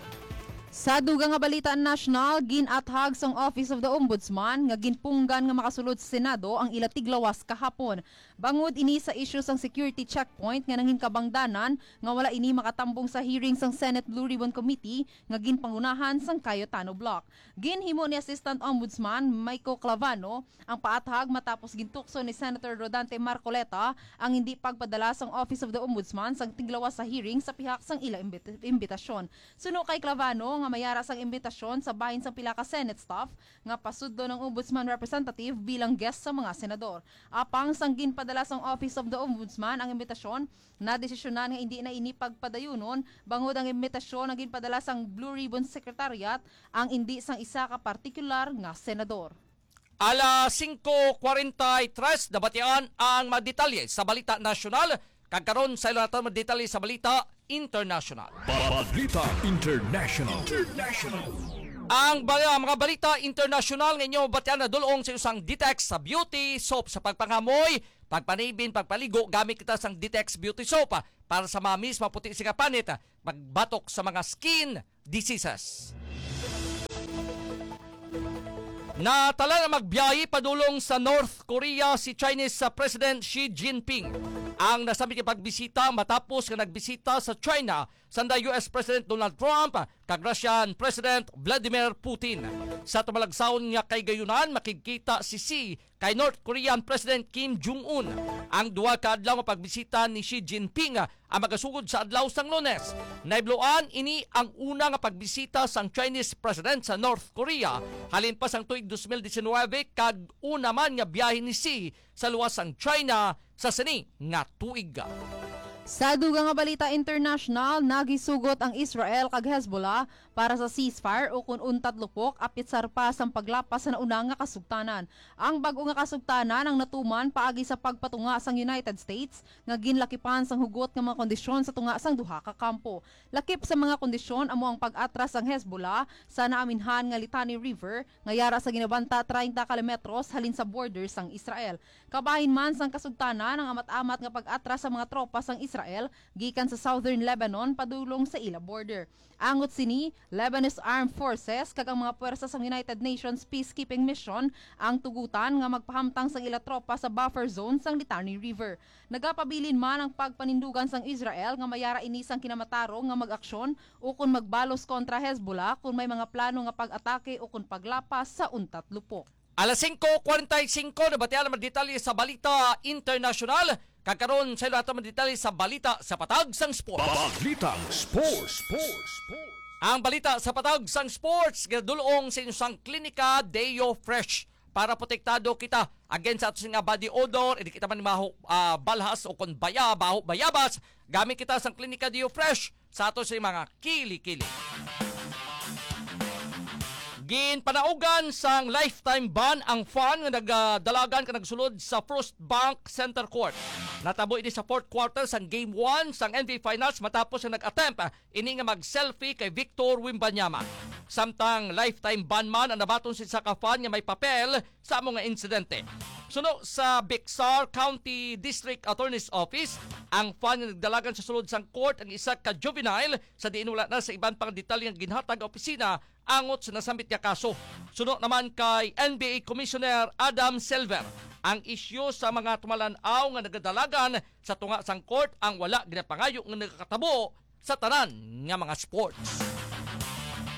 Sa dugang nga balita nasyonal, gin-athag sang Office of the Ombudsman nga ginpunggan nga makasulod sa Senado ang ila tiglawas kahapon. Bangod ini sa isyu sang security checkpoint nga nangin kabangdanan nga wala ini makatambong sa hearing sang Senate Blue Ribbon Committee nga ginpangunahan sang Cayetano Bloc. Ginhimo ni Assistant Ombudsman Mico Clavano ang paathag matapos gintukso ni Senator Rodante Marcoleta ang hindi pagpadala sang Office of the Ombudsman sang tiglawas sa hearing sa pihak sang ila imbit- imbitasyon. Suno kay Clavano nga mayara sang imbitasyon sa bahin sang pila ka Senate staff nga pasudlon ang Ombudsman representative bilang guest sa mga senador. Apang sang ginpadala sang Office of the Ombudsman ang imbitasyon, nadesisyonan nga hindi na ini pagpadayunon bangod ang imbitasyon nga ginpadala sang Blue Ribbon Secretariat ang indi sang isa ka partikular nga senador. Alas singko kwarenta y tres, nabatian ang mga detalye sa balita nasyonal, kag karon sa ilang naton mga detalye sa balita international. Balita International. Ang ba- mga balita international nga inyo batian na dulong sa usang Ditex sa beauty soap sa pagpangamoy, pagpanibin, pagpaligo, gamit kita sang Ditex beauty soap para sa mamis, maputi sing panit, magbatok sa mga skin diseases. Natala na magbiyahe padulong sa North Korea si Chinese sa President Xi Jinping. Ang nasambit nga pagbisita matapos nga nagbisita sa China sanda U S President Donald Trump kag Russian President Vladimir Putin. Sa tumalagsaon nga kahigayonan, makigkita si Xi kay North Korean President Kim Jong-un. Ang duha ka adlaw nga pagbisita ni Xi Jinping ang magasugod sa adlaw sang Lunes. Nahibaloan ini ang una nga pagbisita sang Chinese President sa North Korea halin pa sang tuig dos mil diecinuebe, kag una man nga biyahe ni Xi sa luwas sang China sa sini nga tuig. Sa dugang nga balita international, nagisugot ang Israel kag Hezbollah para sa ceasefire ukon untat lupok, apit sa harpa sang paglapas sa nauna nga kasugtanan. Ang bag-o nga kasugtanan ang natuman paagi sa pagpatunga sang United States nga ginlakipan sang hugot nga mga kondisyon sa tunga sang duha ka kampo. Lakip sa mga kondisyon amo ang pag-atras sang Hezbollah sa naaminhan nga Litani River, nga yara sa ginabanta treinta kilometros halin sa border sang Israel. Kabahin man sang kasugtanan ang amat-amat nga pag-atras sa mga tropa sang Israel gikan sa southern Lebanon padulong sa ila border. Angot sini, Lebanese Armed Forces kag ang mga puwersa sang United Nations Peacekeeping Mission ang tugutan nga magpahamtang sang ila tropa sa buffer zone sang Litani River. Nagapabilin man ang pagpanindugan sang Israel nga mayara ini sang kinamatarong nga mag-aksyon ukon magbalos kontra Hezbollah kon may mga plano nga pag-atake ukon paglapas sa untat lupok. Alas singko kwarenta y singko, nabatian ang mga detalye sa balita internasyonal. Kag karon, sa ilo nato mga detalye sa balita sa patag sang sports. Balitang sports. Ang balita sa patag sang sports, ginadul-ong sa inyo sang Klinika Deo Fresh para protektado kita against sa ato nga body odor, hindi kita man maho, ah, balhas o kon baya, baho, bayabas. Gamit kita sang Klinika Deo Fresh sa ato sa mga kili-kili. Ginpanaugan sang lifetime ban ang fan nga nagdalagan ka nagsulod sa First Bank Center Court. Natabo ini sa fourth quarter sang Game one sang N B A Finals matapos nga nag-attempt, ah, ini nga mag-selfie kay Victor Wembanyama. Samtang lifetime ban man ang nabaton sa isa ka fan nga may papel sa amo nga insidente. Suno sa Bexar County District Attorney's Office, ang fan nga nagdalagan sa sulod sang court ang isa ka juvenile sa diin wala na sa iban pang detalye nga ginhatag ang opisina angot sa nasambit nga kaso. Suno naman kay N B A Commissioner Adam Silver, ang isyu sa mga tumalan-aw nga nagadalagan sa tunga sang court ang wala ginapangayo nga nakakatabo sa tanan nga mga sports.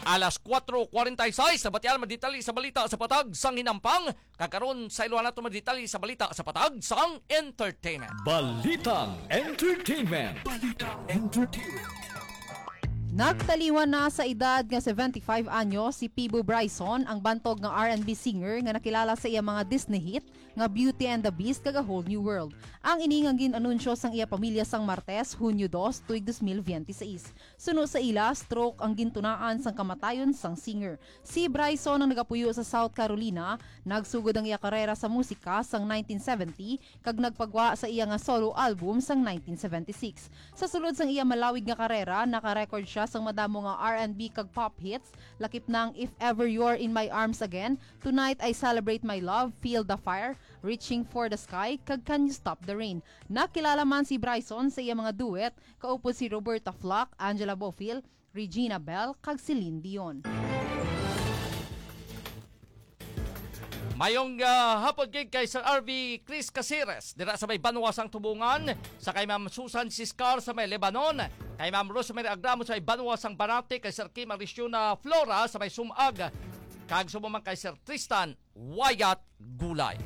Alas kuwatro kwarenta y seis, nabatian ang mga detalye sa balita sa patag sang hinampang. Kag karon, sa ilo nato mga detalye sa balita sa patag sang entertainment. Balitang entertainment. Balitang entertainment. Nagtaliwan na sa edad nga seventy-five anyos si Pibo Bryson, ang bantog nga R and B singer nga nakilala sa iya mga Disney hit nga Beauty and the Beast kag A Whole New World. Ang ini nga gin-anunsyo sang iya pamilya sang Martes, Hunyo dos, tuig dos mil biyente seis. Suno sa ila, stroke ang gintunaan sang kamatayon sang singer. Si Bryson ang nagapuyo sa South Carolina. Nagsugod ang iya karera sa musika sang nineteen seventy kag nagpagwa sa iya nga solo album sang nineteen seventy-six. Sa sulod sang iya malawig nga karera, naka-record sia sang madamo nga R and B kag pop hits, lakip na ang If Ever You're in My Arms Again, Tonight I Celebrate My Love, Feel the Fire, Reaching for the Sky, kag Can You Stop the Rain. Nakilala man si Bryson sa iya mga duet, kaupod si Roberta Flack, Angela Bofill, Regina Belle, kag Celine Dion. Mayong, ah, hapon gid kay Sir R V Chris Caceres dira sa may banwa sang Tubungan, sa kay Ma'am Susan Siscar sa may Lebanon, kay Ma'am Rosemary Agramo sa may banwa sang Banate, kay Sir Kim Arisiona Flora sa may Sumag, kag subong man kay Sir Tristan Wyatt Gulay.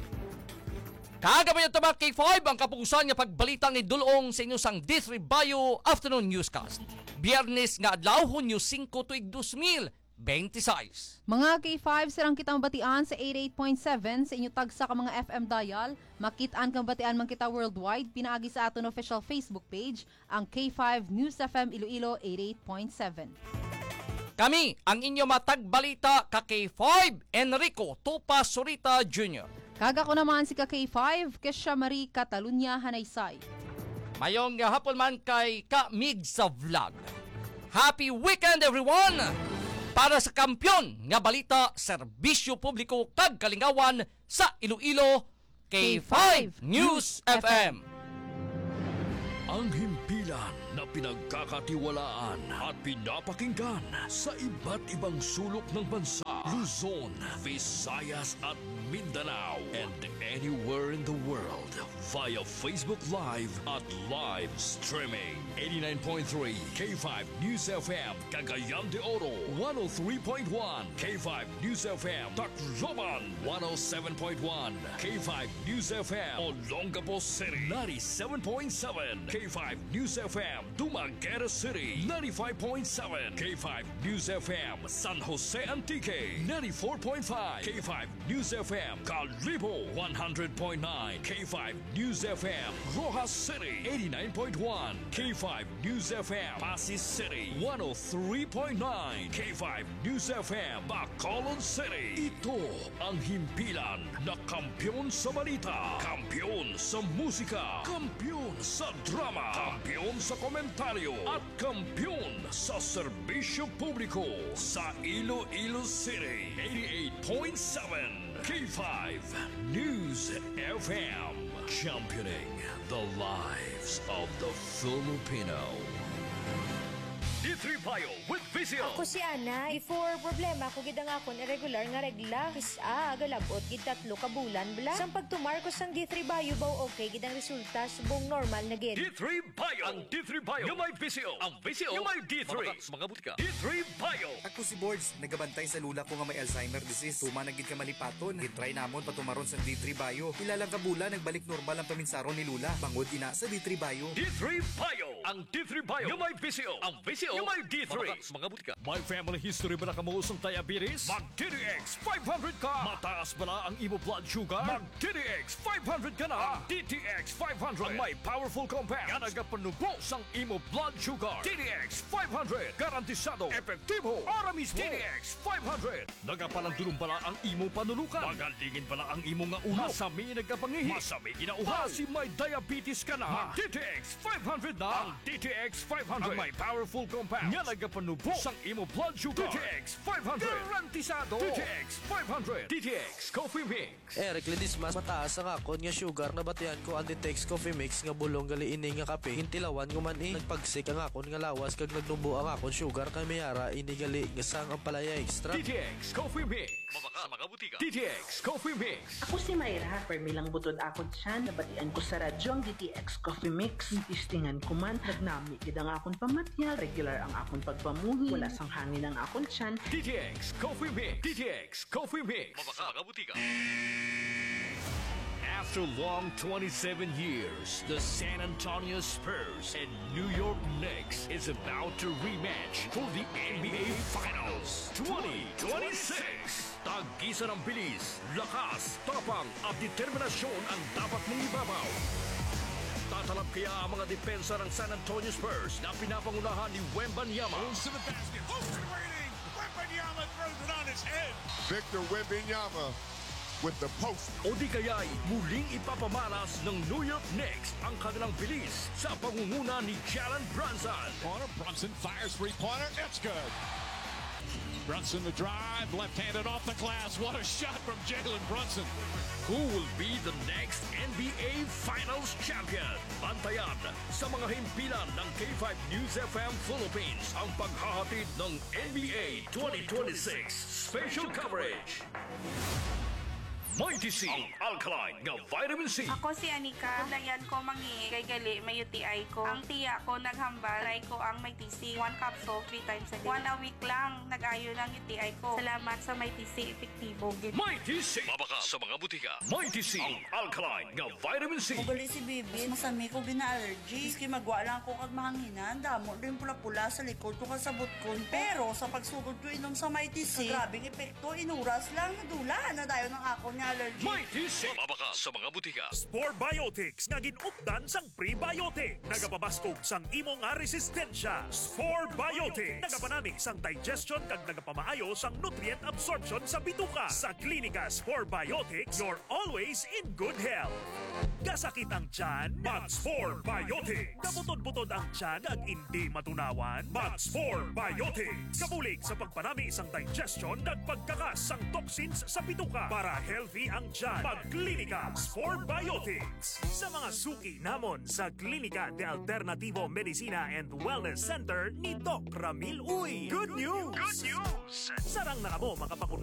Kag amo yun, mga K five, ang kapusan nga pagbalita nga idul-ong sa inyo sang D three Bayo Afternoon Newscast. Biyernes nga adlaw, Hunyo singko, tuig dos mil bente seis. Mga K five, sarang kita mabatian sa eighty-eight point seven sa inyo tagsa ka mga F M dial. Makit-an kag mabatian man kita worldwide pinaagi sa aton official Facebook page, ang K five News F M Iloilo eighty-eight point seven. Kami ang inyo matagbalita ka K five, Enrico Tupa Surita Junior. Kag ako naman si ka K five, Kesha Marie Catalunya Hanaysay. Mayong hapon man kay ka Mig sa vlog. Happy weekend, everyone! Para sa kampiyon nga balita, serbisyo publiko kag kalingawan sa Iloilo, K five News F M. Ang himpilan na pinagkakatiwalaan at pinapakinggan sa iba't ibang sulok ng bansa. Luzon, Visayas at Mindanao, and anywhere in the world via Facebook Live at live streaming. Eighty-nine point three K five News F M, Cagayan de Oro, one oh three point one K five News F M, Tacloban, one oh seven point one K five News F M, Olongapo City, ninety-seven point seven K five News F M, Dumaguete City, ninety-five point seven K five News F M, San Jose Antique, ninety-four point five K five News F M, Kalibo, one hundred point nine K five News F M, Roxas City, eighty-nine point one K five News F M, Passi City, one oh three point nine K five News F M, Bacolod City. Ito ang himpilan na kampiyon sa balita, kampiyon sa musika, kampiyon sa drama, kampiyon sa komentaryo, at kampiyon sa serbisyo publiko sa Iloilo City. Eighty-eight point seven K five News F M, championing the lives of the Filipino. D three Bio with Visio. Ako si Ana. Before, problema ko gid ang akon irregular nga regla. Kis-a, galab-ot gid tatlo ka bulan bala. Sang pagtumar ko sang D three Bio, baw okay gid ang resulta, subong normal na gid. D three Bio. Ang D three Bio nga may Visio. Ang Visio nga may D three. Mabaka sa mga butika. D three Bio. Ako si Bords, nagabantay sa lola ko nga may Alzheimer disease. Tuman na gid ka malipaton. Gitry namon patumaron sa D three Bio. Pila lang ka bulan, nagbalik normal ang paminsaron ni lola. Bangod ina sa D three Bio. D three Bio. Ang D three Bio nga may Visio. Ang Visio nga may D three. Mabaka sa mga butika. May family history bala kamo sang diabetes? Mag D T X five hundred ka. Mataas bala ang imo blood sugar? Mag D T X five hundred ka na. Ang D T X five hundred ang may powerful compound nga nagapanubo sang imo blood sugar. D T X five hundred, garantisado, epektibo, ara mismo. D T X five hundred. Nagapalandulong bala ang imo panulukan? Magalingin bala ang imo nga ulo? Masami nagapangihi? Masami ginauhaw? Basi may diabetes ka na? Mag D T X five hundred na. Ang D T X five hundred ang may powerful compound nga nagapanubo sang imo blood sugar. D T X five hundred. Garantisado. D T X five hundred. D T X Coffee Mix. Eric Ledesma, mataas ang akon nga sugar. Nabatian ko ang D T X Coffee Mix nga bulong gali ini nga kape. Gintilawan ko man, eh. Nagpagsik ang akon nga lawas kag nagnubo ang akon sugar, kay may ara ini gali nga sang Ampalaya Extra. D T X Coffee Mix. Mabaka sa mga butika. D T X Coffee Mix. Ako si Myra, permi lang butod akon tiyan. Nabatian ko sa radyo ang D T X Coffee Mix. Gitistingan ko man, nagnami gid ang akon pamatyag, regular ang akon pagpamuhi, wala sang hangin ang akon tiyan. D T X Coffee Mix. D T X Coffee Mix. Mabaka sa mga butika. After long twenty-seven years, the San Antonio Spurs and New York Knicks is about to rematch for the N B A Finals twenty twenty-six. Tagisan ang bilis, lakas, tapang at determinasyon ang dapat mong ibabaw. Tatalab kaya ang mga depensa ng San Antonio Spurs na pinapangunahan ni Wembanyama? Moves to the basket. Open waiting. Wembanyama throws it on his head. Victor Wembanyama with the post. O di kaya'y muling ipapamalas ng New York Knicks ang kanilang bilis sa pangunguna ni Jalen Brunson. Corner, Brunson fires three-pointer. It's good. Brunson the drive, left-handed off the glass. What a shot from Jalen Brunson. Who will be the next N B A Finals champion? Bantayan sa mga himpilan ng K five News F M Philippines ang paghahatid ng N B A twenty twenty-six special coverage. Mighty C, ang alkaline nga vitamin C. Ako si Anika. Kabudlayan ko mangihi kay gali may U T I ko. Ang tiya ko naghambal, try ko ang Mighty C. One capsule, three times a day. One a week lang, nag-ayo lang U T I ko. Salamat sa Mighty C, epektibo gid. Mighty C. Mabaka sa mga butika. Mighty C, ang alkaline nga vitamin C. Ugali si Bibi, masami ko gina-allergy. Maski magwa lang ako kag mahanginan, damo din pula-pula sa likod ko kag sa butkon ko. Pero sa pagsugod ko inom sa Mighty C, grabing epekto, inuras lang, nadula na dayon ang akon nga allergy. Mighty C. Mabaka sa mga butika. Spore Biotics nga gin-updan sang prebiotic. Nagapabaskog sang imo nga resistensya. Spore Biotics. Nagapanami sang digestion kag nagapamaayo sang nutrient absorption sa bituka. Sa Klinika Spore Biotics, you're always in good health. Kasakit ang tiyan? Mag Spore Biotics. Kabutod-butod ang tiyan kag indi matunawan? Mag Spore Biotics. Kabulig sa pagpanami sang digestion kag pagkakas sang toxins sa bituka para healthy ang tiyan. Mag Klinika Spore Biotics. Sa mga suki namon sa Klinika de Alternativo Medicina and Wellness Center ni Doc Ramil Uy. Good news! Good news! Sarang na kamo makapakun-